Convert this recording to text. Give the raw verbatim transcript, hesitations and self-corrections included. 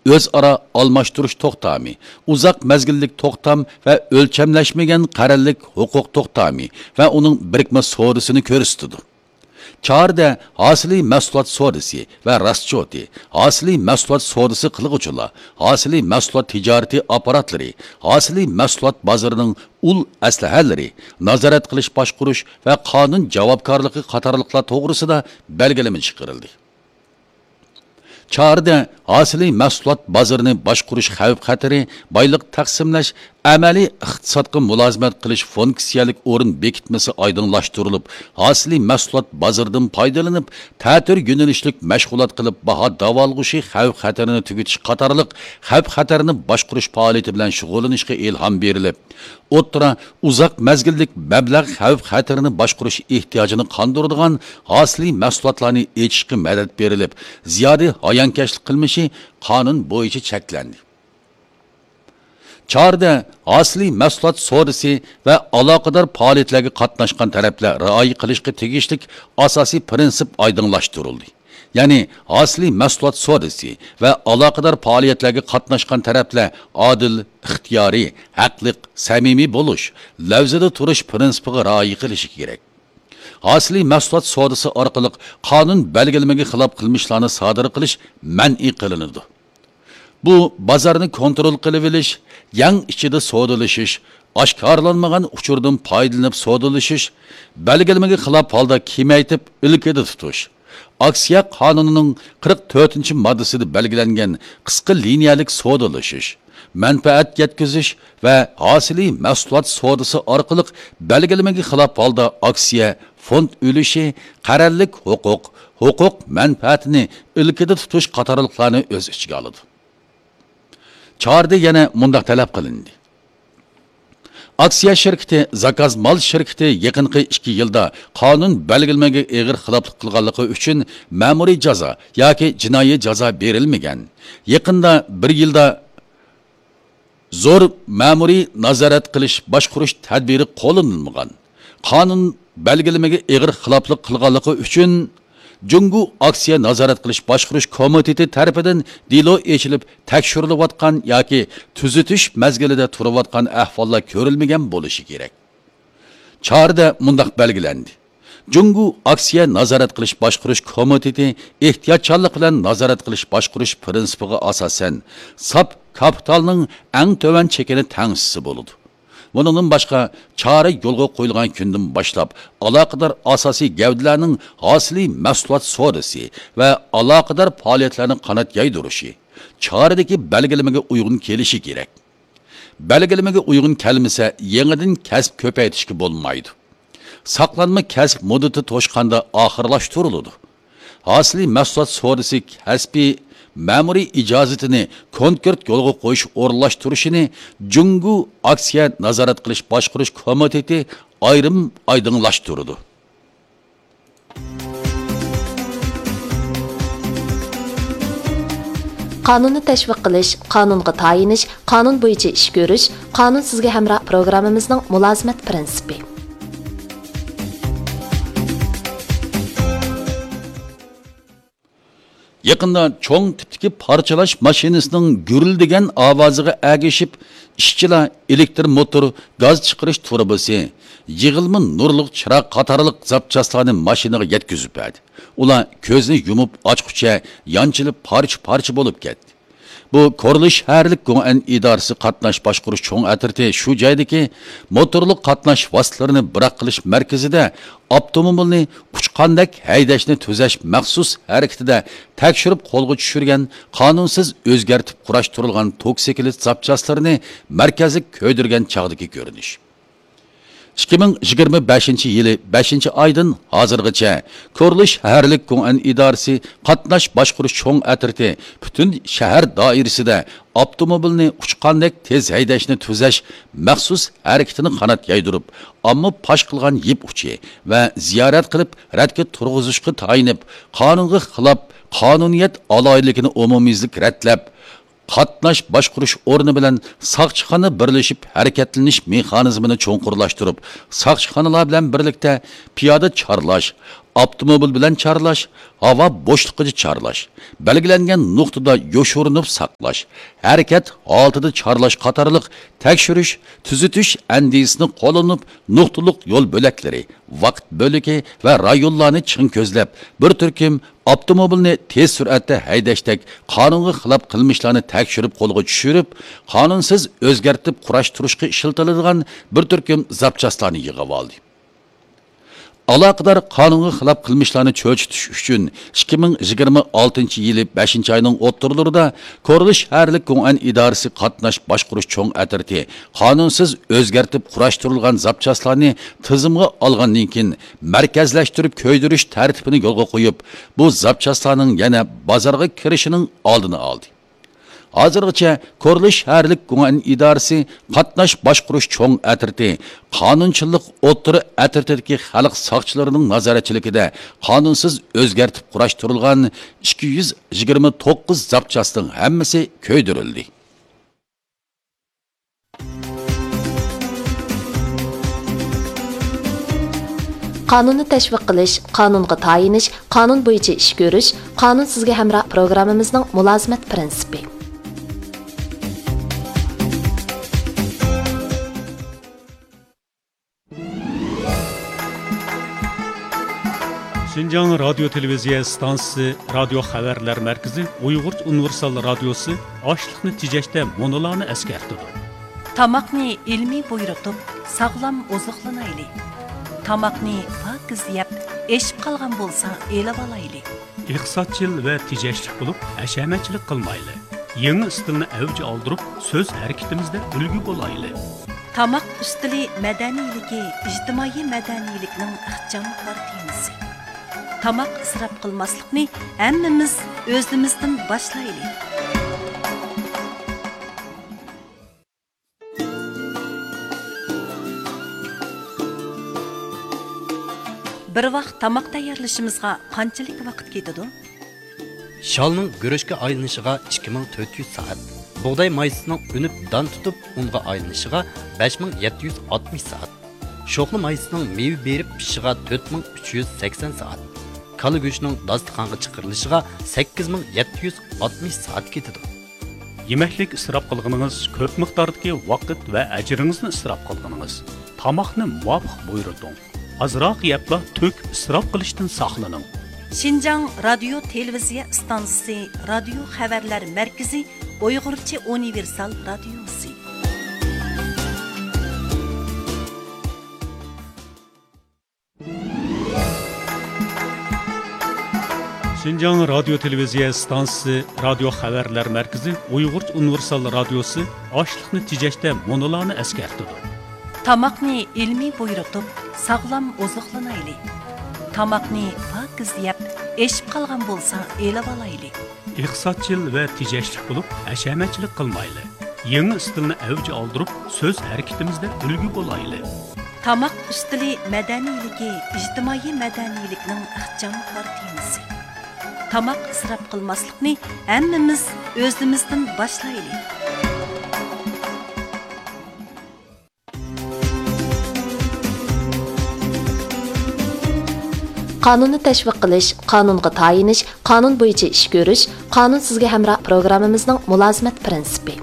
ئۆزئارا ئالماشتۇرۇش توختامى، ئۇزاق مەزگىللىك توختام ۋە ئۆلچەملەشمىگەن قەرەللىك ھوقۇق توختامى ۋە ئۇنىڭ بىرىكمە سودىسىنى كۆرسىتىدۇ. چارىدە ھاسىلىي مەھسۇلات سودىسى ۋە راسچوتى، ھاسىلىي مەھسۇلات سودىسى قىلغۇچىلار، ھاسىلىي مەھسۇلات تىجارىتى ئاپپاراتلىرى، ھاسىلىي مەھسۇلات بازىرىنىڭ ئۇل ئەسلىھەلىرى، نازارەت قىلىش باشقۇرۇش ۋە قانۇن جاۋابكارلىقى قاتارلىقلار توغرىسىدا بەلگىلىمە چىقىرىلدى. چارىدە ھاسىلىي مەھسۇلات بازىرىنى باشقۇرۇش خەۋپ خەتىرى، بايلىق تەقسىملەش، ئەمەلىي ئىقتىسادقا مۇلازىمەت قىلىش فۇنكسىيەلىك ئورۇن بېكىتمىسى ئايدىڭلاشتۇرۇلۇپ، ھاسىلىي مەھسۇلات بازىرىدىن پايدىلىنىپ، تەتۈر يۆنىلىشلىك مەشغۇلات قىلىپ، باھا داۋالغۇشى خەۋپ خەتىرىنى تۈگىتىش قاتارلىق خەۋپ خەتىرىنى باشقۇرۇش پائالىيىتى بىلەن شۇغۇللىنىشقا ئىلھام بېرىلىپ، ئوتتۇرا، ئۇزاق مەزگىللىك مەبلەغ خەۋپ خەتىرىنى باشقۇرۇش ئېھتىياجىنى قاندۇرىدىغان ھاسىلىي مەھسۇلاتلارنى ئېچىشقا مەدەت بېرىلىپ، زىيادە ھايانكەشلىك قىلمىشى قانۇن بويىچە چەكلەندى. چارىدە ھاسىلىي مەھسۇلات سودىسى ۋە ئالاقىدار پائالىيەتلەرگە قاتناشقان تەرەپلەر رىئايە قىلىشقا تېگىشلىك ئاساسىي پىرىنسىپ ئايدىڭلاشتۇرۇلدى. يەنى ھاسىلىي مەھسۇلات سودىسى ۋە ئالاقىدار پائالىيەتلەرگە قاتناشقان تەرەپلەر ئادىل، ئىختىيارىي، ھەقلىق، سەمىمىي بولۇش، لەۋزىدە تۇرۇش پىرىنسىپىغا رىئايە قىلىشى كېرەك. ھاسىلىي مەھسۇلات سودىسى ئارقىلىق قانۇن بەلگىلىمىگە خىلاپ قىلمىشلارنى سادىر قىلىش مەنئى قىلىنىدۇ. بۇ بازارنى كونترول قىلىۋېلىش، يەڭ ئىچىدە سودىلىشىش، ئاشكارىلانمىغان ئۇچۇردىن پايدىلىنىپ سودىلىشىش، بەلگىلىمىگە خىلاپ ھالدا كېمەيتىپ ئىلكىدە تۇتۇش، ئاكسىيە قانۇنىنىڭ قىرىق تۆتىنچى ماددىسىدا بەلگىلەنگەن قىسقا لىنىيەلىك سودىلىشىش، مەنپەئەت يەتكۈزۈش ۋە ھاسىلىي مەھسۇلات سودىسى ئارقىلىق بەلگىلىمىگە خىلاپ ھالدا ئاكسىيە، فوند ئۈلۈشى، قەرەللىك ھوقۇق، ھوقۇق مەنپەئەتىنى ئىلكىدە تۇتۇش قاتارلىقلارنى ئۆز ئىچىگە ئالىدۇ. چارىدە يەنە مۇنداق تەلەپ قىلىندى. ئاكسىيە شىركىتى، زاكاز مال شىركىتى يېقىنقى ئىككى يىلدا قانۇن بەلگىلىمىگە ئېغىر خىلاپلىق قىلغانلىقى ئۈچۈن مەمۇرىي جازا ياكى جىنايى جازا بېرىلمىگەن. يېقىندا بىر يىلدا زور مەمۇرىي نازارەت قىلىش باشقۇرۇش تەدبىرى قوللىنىلمىغان. قانۇن بەلگىلىمىگە ئېغىر خىلاپلىق قىلغانلىقى ئۈچۈن جۇڭگو ئاكسىيە نازارەت قىلىش باشقۇرۇش كومىتېتى تەرىپىدىن دېلو ئېچىلىپ تەكشۈرۈلۈۋاتقان ياكى تۈزىتىش مەزگىلىدە تۇرۇۋاتقان ئەھۋاللار كۆرۈلمىگەن بولۇشى كېرەك. چارىدە مۇنداق بەلگىلەندى. جۇڭگو ئاكسىيە نازارەت قىلىش باشقۇرۇش كومىتېتى ئېھتىياتچانلىق بىلەن نازارەت قىلىش باشقۇرۇش پىرىنسىپىغا ئاساسەن، ساپ كاپىتالنىڭ ئەڭ تۆۋەن چېكىنى تەڭشىسە بولىدۇ. بۇنىڭدىن باشقا، چارە يولغا قويۇلغان كۈندىن باشلاپ، ئالاقىدار ئاساسىي گەۋدىلەرنىڭ ھاسىلىي مەھسۇلات سودىسى ۋە ئالاقىدار پائالىيەتلەرنى قانات يايدۇرۇشى، چارىدىكى بەلگىلىمىگە ئۇيغۇن كېلىشى كېرەك. بەلگىلىمىگە ئۇيغۇن كەلمىسە، يېڭىدىن كەسىپ كۆپەيتىشكە بولمايدۇ. ساقلانما كەسىپ مۇددىتى توشقاندا ئاخىرلاشتۇرۇلىدۇ. ھاسىلىي مەھسۇلات سودىسى كەسپىي مەمۇرىي ئىجازىتىنى كونكرېت يولغا قويۇش ئورۇنلاشتۇرۇشىنى جۇڭگو ئاكسىيە نازارەت قىلىش باشقۇرۇش كومىتېتى ئايرىم ئايدىڭلاشتۇرىدۇ. قانۇننى تەشۋىق قىلىش، قانۇنغا تايىنىش، قانۇن بويىچە ئىش كۆرۈش، قانۇن سىزگە ھەمراھ پروگراممىمىزنىڭ مۇلازىمەت پىرىنسىپى. يېقىندا چوڭ تىپتىكى پارچىلاش ماشىنىسىنىڭ گۈرۈلدىگەن ئاۋازىغا ئەگىشىپ، ئىشچىلار ئېلېكتر موتور، گاز چىقىرىش تۇرۇبىسى، يىغىلما نۇرلۇق چىراغ قاتارلىق زاپچاسلارنى ماشىنىغا يەتكۈزۈپ بەردى. ئۇلار كۆزنى يۇمۇپ ئاچقۇچە يانچىلىپ پارچە-پارچە بولۇپ كەتتى. بۇ كورلا شەھەرلىك گوڭئەن ئىدارىسى قاتناش باشقۇرۇش چوڭ ئەترىتى شۇ جايدىكى موتورلۇق قاتناش ۋاسىتىلىرىنى بىراق قىلىش مەركىزىدە ئاپتوموبىلنى ئۇچقاندەك ھەيدەشنى تۈزەش مەخسۇس ھەرىكىتىدە تەكشۈرۈپ قولغا چۈشۈرگەن قانۇنسىز ئۆزگەرتىپ قۇراشتۇرۇلغان توكسىكلىت زاپچاسلىرىنى مەركەزلىك كۆيدۈرگەن چاغدىكى كۆرۈنۈش. ئىككى مىڭ يىگىرمە بەشىنچى يىلى بەشىنچى ئايدىن ھازىرغىچە كورلا شەھەرلىك گوڭئەن ئىدارىسى قاتناش باشقۇرۇش چوڭ ئەترىتى پۈتۈن شەھەر دائىرىسىدە ئاپتوموبىلنى ئۇچقاندەك تېز ھەيدەشنى تۈزەش مەخسۇس ھەرىكىتىنى قانات يايدۇرۇپ، ئامما پاش قىلغان يىپ ئۇچى ۋە زىيارەت قىلىپ رەتكە تۇرغۇزۇشقا تايىنىپ، قانۇنغا خىلاپ، قانۇنىيەت ئالاھىدىلىكىنى ئومۇميۈزلۈك رەتلەپ، قاتناش باشقۇرۇش ئورنى بىلەن ساقچىخانا بىرلىشىپ ھەرىكەتلىنىش مېخانىزمىنى چوڭقۇرلاشتۇرۇپ، ساقچىخانىلار بىلەن بىرلىكتە پىيادە چارلاش، ئاپتوموبىل بىلەن چارلاش، ھاۋا بوشلۇقىدا چارلاش، بەلگىلەنگەن نۇقتىدا يوشۇرۇنۇپ ساقلاش، ھەرىكەت ھالىتىدە چارلاش قاتارلىق تەكشۈرۈش، تۈزىتىش ئەندىزىسىنى قوللىنىپ، نۇقتىلىق يول بۆلەكلىرى، ۋاقىت بۆلىكى ۋە رايونلارنى چىڭ كۆزلەپ، بىر تۈركۈم ئاپتوموبىلنى تېز سۈرئەتتە ھەيدەشتەك قانۇنغا خىلاپ قىلمىشلارنى تەكشۈرۈپ قولغا چۈشۈرۈپ، قانۇنسىز ئۆزگەرتىپ قۇراشتۇرۇشقا ئىشلىتىلىدىغان بىر تۈركۈم زاپچاسلارنى يىغىۋالدى. ئالاقىدار قانۇنغا خىلاپ قىلمىشلارنى چۆچۈتۈش ئۈچۈن، ئىككى مىڭ يىگىرمە ئالتىنچى يىلى بەشىنچى ئاينىڭ ئوتتۇرىلىرىدا كورلىش شەھەرلىك گۇڭئەن ئىدارىسى قاتناش باشقۇرۇش چوڭ ئەترىتى قانۇنسىز ئۆزگەرتىپ قۇراشتۇرۇلغان زاپچاسلارنى تىزىمغا ئالغاندىن كېيىن، مەركەزلەشتۈرۈپ كۆيدۈرۈش تەرتىپىنى يولغا قويۇپ، بۇ زاپچاسلارنىڭ يەنە بازارغا كىرىشىنىڭ ئالدىنى ئالدى. ھازىرغىچە كورلى شەھەرلىك گۇڭئەن ئىدارىسى قاتناش باشقۇرۇش چوڭ ئەترىتى، قانۇنچىلىق ئوتتۇرا ئەترىتىدىكى خەلق ساقچىلىرىنىڭ نازارەتچىلىكىدە قانۇنسىز ئۆزگەرتىپ قۇراشتۇرۇلغان ئىككى يۈز يىگىرمە توققۇز زاپچاسنىڭ ھەممىسى كۆيدۈرۈلدى. قانۇننى تەشۋىق قىلىش، قانۇنغا تايىنىش، قانۇن بويىچە ئىش كۆرۈش، قانۇن سىزگە ھەمراھ پروگراممىمىزنىڭ مۇلازىمەت پىرىنسىپى. شىنجاڭ رادىيو تېلېۋىزىيە ئىستانسىسى رادىيو خەۋەرلەر مەركىزى ئۇيغۇرچە ئۇنىۋېرسال رادىيوسى ئاشلىقنى تېجەشتە مۇنۇلارنى ئەسكەرتىدۇ. تاماقنى ئىلمىي بۇيرۇتۇپ، ساغلام ئوزۇقلىنايلى. تاماقنى پاكىز يەپ، ئېشىپ قالغان بولسا ئېلىۋالايلى. ئىقتىسادچىل ۋە تېجەشلىك بولۇپ، ھەشەمەتچىلىك قىلمايلى. يېڭى ئىستىلنى ئەۋج ئالدۇرۇپ، سۆز ھەرىكىتىمىزدە ئۈلگە بولايلى. تاماق ئۈستىلى مەدەنىيلىكى ئىجتىمائىي مەدەنىيلىكنىڭ ئىخچام كارتىنىسى. تاماق ئىسراپ قىلماسلىقنى ھەممىمىز ئۆزىمىزدىن باشلايلى. بىر ۋاق تاماق تەييارلىشىمىزغا قانچىلىك ۋاقىت كېتىدۇ؟ شالنىڭ گۈرۈچكە ئايلىنىشىغا ئىككى مىڭ تۆت يۈز سائەت، بۇغداي مايسىسىنىڭ ئۈنۈپ دان تۇتۇپ ئۇنغا ئايلىنىشىغا بەش مىڭ يەتتە يۈز ئاتمىش سائەت، شوخلا مايسىسىنىڭ مېۋە بېرىپ پىشىشىغا تۆت مىڭ ئۈچ يۈز سەكسەن سائەت، كالا گۆشىنىڭ داستىخانغا چىقىرىلىشىغا سەككىز مىڭ يەتتە يۈز ئاتمىش سائەت كېتىدۇ. يېمەكلىك ئىسراپ قىلغىنىڭىز كۆپ مىقداردىكى ۋاقىت ۋە ئەجرىڭىزنى ئىسراپ قىلغىنىڭىز. تاماقنى مۇۋاپىق بۇيرۇتۇڭ. ئازراق يەپلا تۆكۈپ ئىسراپ قىلىشتىن ساقلىنىڭ. شىنجاڭ رادىيو تېلېۋىزىيە ئىستانسىسى رادىيو خەۋەرلەر مەركىزى ئۇيغۇرچە ئۇنىۋېرسال رادىيوسى. شىنجاڭ رادىيو تېلېۋىزىيە ئىستانسىسى رادىيو خەۋەرلەر مەركىزى ئۇيغۇرچە ئۇنىۋېرسال رادىيوسى ئاشلىقنى تېجەشتە مۇنۇلارنى ئەسكەرتىدۇ. تاماقنى ئىلمىي بۇيرۇتۇپ، ساغلام ئوزۇقلىنايلى. تاماقنى پاكىز يەپ، ئېشىپ قالغان بولسا ئېلىۋالايلى. ئىقتىسادچىل ۋە تېجەشلىك بولۇپ، ھەشەمەتچىلىك قىلمايلى. يېڭى ئىستىلنى ئەۋج ئالدۇرۇپ، سۆز ھەرىكىتىمىزدە ئۈلگە بولايلى. تاماق ئۈستىلى مەدەنىيلىكى ئىجتىمائىي مەدەنىيلىكنىڭ ئىخچام كارتىنىسى. تاماق ئىسراپ قىلماسلىقنى ھەممىمىز ئۆزىمىزدىن باشلايلى. قانۇننى تەشۋىق قىلىش، قانۇنغا تايىنىش، قانۇن بويىچە ئىش كۆرۈش، قانۇن سىزگە ھەمراھ پروگراممىمىزنىڭ مۇلازىمەت پىرىنسىپى.